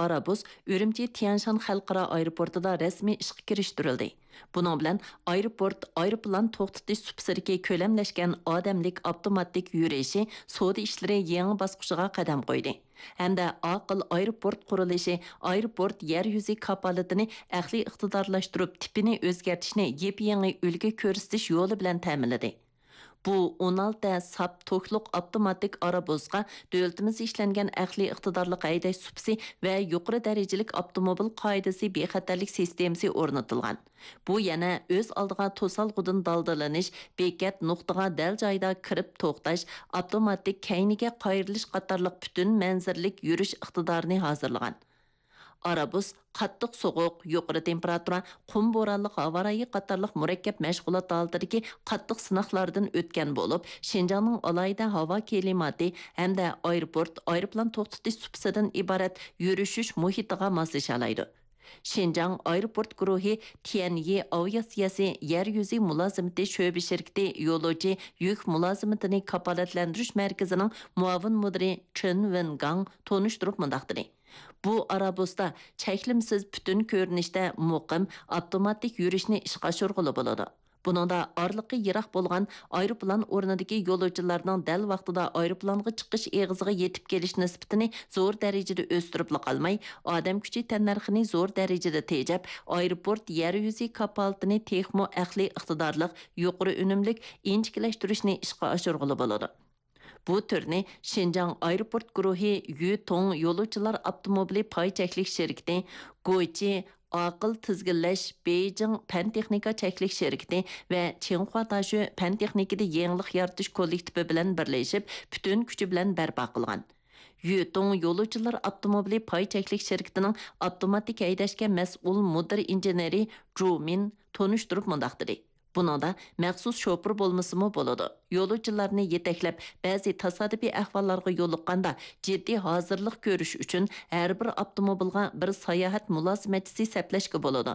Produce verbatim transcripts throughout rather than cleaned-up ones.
ئارابۇس ئۈرۈمچى تيەنشان خەلقئارا ئايروپورتىدا رەسمىي ئىشقا كىرىشتۈرۈلدى. بۇنىڭ بىلەن ئايروپورت ئايروپىلان توختىتىش سۇپىسىدىكى كۆلەملەشكەن ئادەملىك ئاپتوماتىك يۈرۈشى سودا ئىشلىرى يېڭى باسقۇچىغا قەدەم قويدى ھەمدە ئاقىل ئايروپورت قۇرۇلۇشى ئايروپورت يەر يۈزى كاپالىتىنى ئەقلىي ئىقتىدارلاشتۇرۇپ، تىپىنى ئۆزگەرتىشنى يېپيېڭى ئۈلگە كۆرسىتىش يولى بىلەن تەمىنلىدى. بۇ ئون ئالتە ساپ توكلۇق ئاپتوماتىك ئارابۇسقا دۆلىتىمىزدە ئىشلەنگەن ئەقلىي ئىقتىدارلىق ھەيدەش سۇپىسى ۋە يۇقىرى دەرىجىلىك ئاپتوموبىل قائىدىسى بىخەتەرلىك سىستېمىسى ئورنىتىلغان. بۇ يەنە ئۆز ئالدىغا توسالغۇدىن دالدىلىنىش، بېكەت نۇقتىغا دەل جايىدا كىرىپ توختاش، ئاپتوماتىك كەينىگە قايرىلىش قاتارلىق پۈتۈن مەنزىرىلىك يۈرۈش ئىقتىدارىنى ھازىرلىغان. ئارابۇس قاتتىق سوغۇق، يۇقىرى تېمپېراتۇرا، قۇم بورانلىق ھاۋا رايى قاتارلىق مۇرەككەپ مەشغۇلات ھالىتىدىكى قاتتىق سىناقلاردىن ئۆتكەن بولۇپ، شىنجاڭنىڭ ئالاھىدە ھاۋا كىلىماتى ھەمدە ئايروپورت، ئايروپىلان توختىتىش سۇپىسىدىن ئىبارەت يۈرۈشۈش مۇھىتىغا ماسلىشالايدۇ. شىنجاڭ ئايروپورت گۇرۇھى تيەنيى ئاۋىئاتسىيەسى يەر يۈزى مۇلازىمىتى شۆبە شىركىتى يولۇچى يۈك مۇلازىمىتىنى كاپالەتلەندۈرۈش مەركىزىنىڭ مۇئاۋىن مۇدىرى چېن ۋېنگاڭ تونۇشتۇرۇپ مۇنداق دېدى: بۇ ئارابۇستا چەكلىمىسىز پۈتۈن كۆرۈنۈشتە مۇقىم، ئاپتوماتىك يۈرۈشنى ئىشقا ئاشۇرغىلى بولىدۇ. بۇنىڭدا ئارىلىقى يىراق بولغان ئايروپىلان ئورنىدىكى يولۇچىلارنىڭ دەل ۋاقتىدا ئايروپىلانغا چىقىش ئېغىزىغا يېتىپ كېلىش نىسبىتىنى زور دەرىجىدە ئۆستۈرۈپلا قالماي، ئادەم كۈچى تەننەرخىنى زور دەرىجىدە تېجەپ، ئايروپورت يەر يۈزى كاپالىتىنى تېخىمۇ ئەقلىي ئىقتىدارلىق، يۇقىرى ئۈنۈملۈك، ئىنچىكىلەشتۈرۈشنى ئىشقا ئاشۇرغىلى بولىدۇ. بۇ تۈرنى شىنجاڭ ئايروپورت گۇرۇھى يۈتۇڭ يولۇچىلار ئاپتوموبىلى پاي چەكلىك شىركىتى، گويچى ئاقىل تىزگىنلەش بېيجىڭ پەن تېخنىكا چەكلىك شىركىتى ۋە چىڭخۇا تاشۆ پەن تېخنىكىدا يېڭىلىق يارىتىش كوللېكتىپى بىلەن بىرلىشىپ، پۈتۈن كۈچى بىلەن بەرپا قىلغان. يۈتۇڭ يولۇچىلار ئاپتوموبىلى پاي چەكلىك شىركىتىنىڭ ئاپتوماتىك ھەيدەشكە مەسئۇل مۇدىر ئىنژېنېرى جۇ مىن تونۇشتۇرۇپ مۇنداق دېدى: بۇنىڭدا مەخسۇس شوپۇر بولمىسىمۇ بولىدۇ. يولۇچىلارنى يېتەكلەپ، بەزى تاسادىپىي ئەھۋاللارغا يولۇققاندا جىددىي ھازىرلىق كۆرۈش ئۈچۈن ھەر بىر ئاپتوموبىلغا بىر ساياھەت مۇلازىمەتچىسى سەپلەشكە بولىدۇ.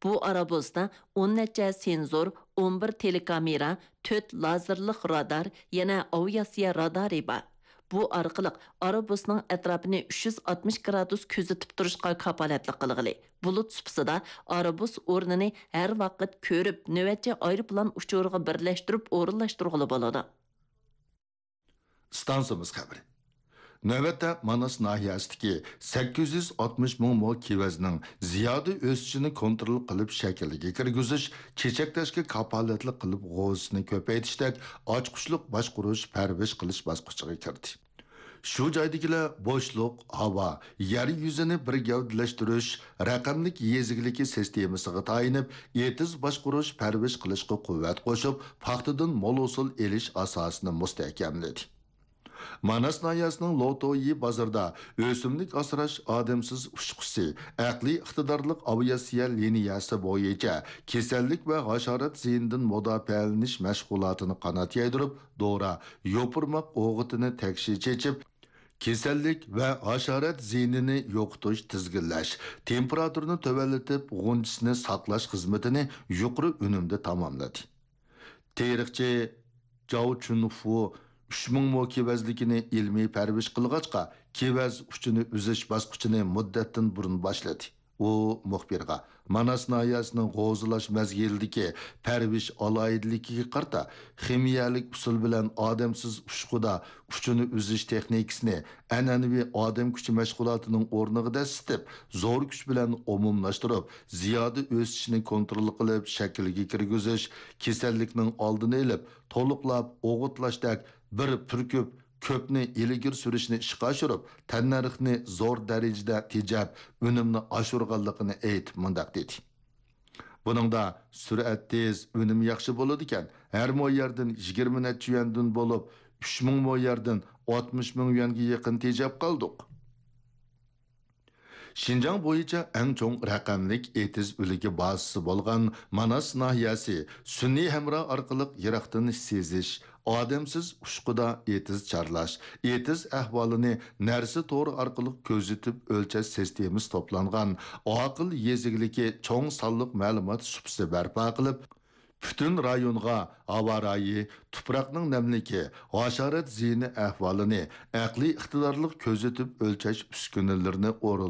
بۇ ئارابۇستا ئون نەچچە سېنزور، ئون بىر تېلېكامېرا، تۆت لازېرلىق رادار، يەنە ئاۋىئاتسىيە رادارى بار. بۇ ئارقىلىق ئارابۇسنىڭ ئەتراپىنى ئۈچ يۈز ئاتمىش گرادۇس كۆزىتىپ تۇرۇشقا كاپالەتلىك قىلغىلى، بۇلۇت سۇپىسىدا ئارابۇس ئورنىنى ھەر ۋاقىت كۆرۈپ، نۆۋەتچى ئايروپىلان ئۇچۇرىغا بىرلەشتۈرۈپ ئورۇنلاشتۇرغىلى بولىدۇ. ئىستانسىمىز خەۋىرى. نۆۋەتتە ماناس ناھىيەسىدىكى سەككىز يۈز ئاتمىش مىڭ مو كېۋەزنىڭ زىيادە ئۆسۈشىنى كونترول قىلىپ شەكىلگە كىرگۈزۈش، چېچەكلەشكە كاپالەتلىك قىلىپ غوزىسىنى كۆپەيتىشتەك ئاچقۇچلۇق باشقۇرۇش، پەرۋىش قىلىش باسقۇچىغا كىردى. شۇ جايدىكىلەر بوشلۇق، ھاۋا، يەر يۈزىنى بىر گەۋدىلەشتۈرۈش، رەقەملىك يېزا ئىگىلىكى سىستېمىسىغا تايىنىپ، ئېتىز باشقۇرۇش، پەرۋىش قىلىشقا قۇۋۋەت قوشۇپ، پاختىدىن مول ھوسۇل ئېلىش ئاساسىنى مۇستەھكەملىدى. ماناس ناھىيەسىنىڭ لوتويى بازىرىدا ئۆسۈملۈك ئاسراش ئادەمسىز ئۇچقۇسى، ئەقلىي ئىقتىدارلىق ئاۋىئاتسىيە لىنىيەسى بويىچە كېسەللىك ۋە ھاشارات زىيىنىدىن مۇداپىئەلىنىش مەشغۇلاتىنى قانات يايدۇرۇپ، دورا، يوپۇرماق ئوغۇتىنى تەكشى چېچىپ، كېسەللىك ۋە ھاشارات زىيىنىنى يوقىتىش، تىزگىنلەش، تېمپېراتۇرىنى تۆۋەنلىتىپ، غۇنچىسىنى ساقلاش خىزمىتىنى يۇقىرى ئۈنۈمدە تاماملىدى. تېرىقچى جاۋ چۈنفۇ ئۈچ مىڭ مو كېۋەزلىكىنى ئىلمىي پەرۋىش قىلغاچقا، كېۋەز ئۇچىنى ئۈزۈش باسقۇچىنى مۇددەتتىن بۇرۇن باشلىدى. ئۇ مۇخبىرغا، ماناس ناھىيەسىنىڭ غوزىلاش مەزگىلىدىكى پەرۋىش ئالاھىدىلىكىگە قارىتا، خىمىيەلىك ئۇسۇل بىلەن ئادەمسىز ئۇچقۇدا ئۇچىنى ئۈزۈش تېخنىكىسىنى ئەنئەنىۋى ئادەم كۈچى مەشغۇلاتىنىڭ ئورنىغا دەسسىتىپ، زور كۈچ بىلەن ئومۇملاشتۇرۇپ، زىيادە ئۆسۈشىنى كونترول قىلىپ، شەكىلگە كىرگۈزۈش، كېسەللىكنىڭ ئالدىنى ئېلىپ، تولۇقلاپ ئوغۇتلاشتەك بىر پۈركۈپ كۆپنى ئىلگىرى سۈرۈشنى ئىشقا ئاشۇرۇپ، تەننەرخنى زور دەرىجىدە تېجەپ، ئۈنۈمنى ئاشۇرغانلىقىنى ئېيتىپ مۇنداق دېدى: بۇنىڭدا سۈرئەت تېز، ئۈنۈم ياخشى بولىدىكەن. ھەر مو يەردىن يىگىرمە نەچچە يۈەندىن بولۇپ، ئۈچ مىڭ مو يەردىن ئاتمىش مىڭ يۈەنگە يېقىن تېجەپ قالدۇق. شىنجاڭ بويىچە ئەڭ چوڭ رەقەملىك ئېتىز ئۈلگە بازىسى بولغان ماناس ناھىيەسى سۈنئىي ھەمراھ ئارقىلىق يىراقتىن سېزىش، ئادەمسىز ئۇچقۇدا ئېتىز چارلاش، ئېتىز ئەھۋالىنى نەرسە تورى ئارقىلىق كۆزىتىپ ئۆلچەش سىستېمىسى توپلانغان ئاقىل يېزا ئىگىلىكى چوڭ سانلىق مەلۇمات سۇپىسى بەرپا قىلىپ، پۈتۈن رايونغا ھاۋا رايى، تۇپراقنىڭ نەملىكى، ھاشارات زىيىنى ئەھۋالىنى ئەقلىي ئىقتىدارلىق كۆزىتىپ ئۆلچەش ئۈسكۈنىلىرىنى ئورۇنلاش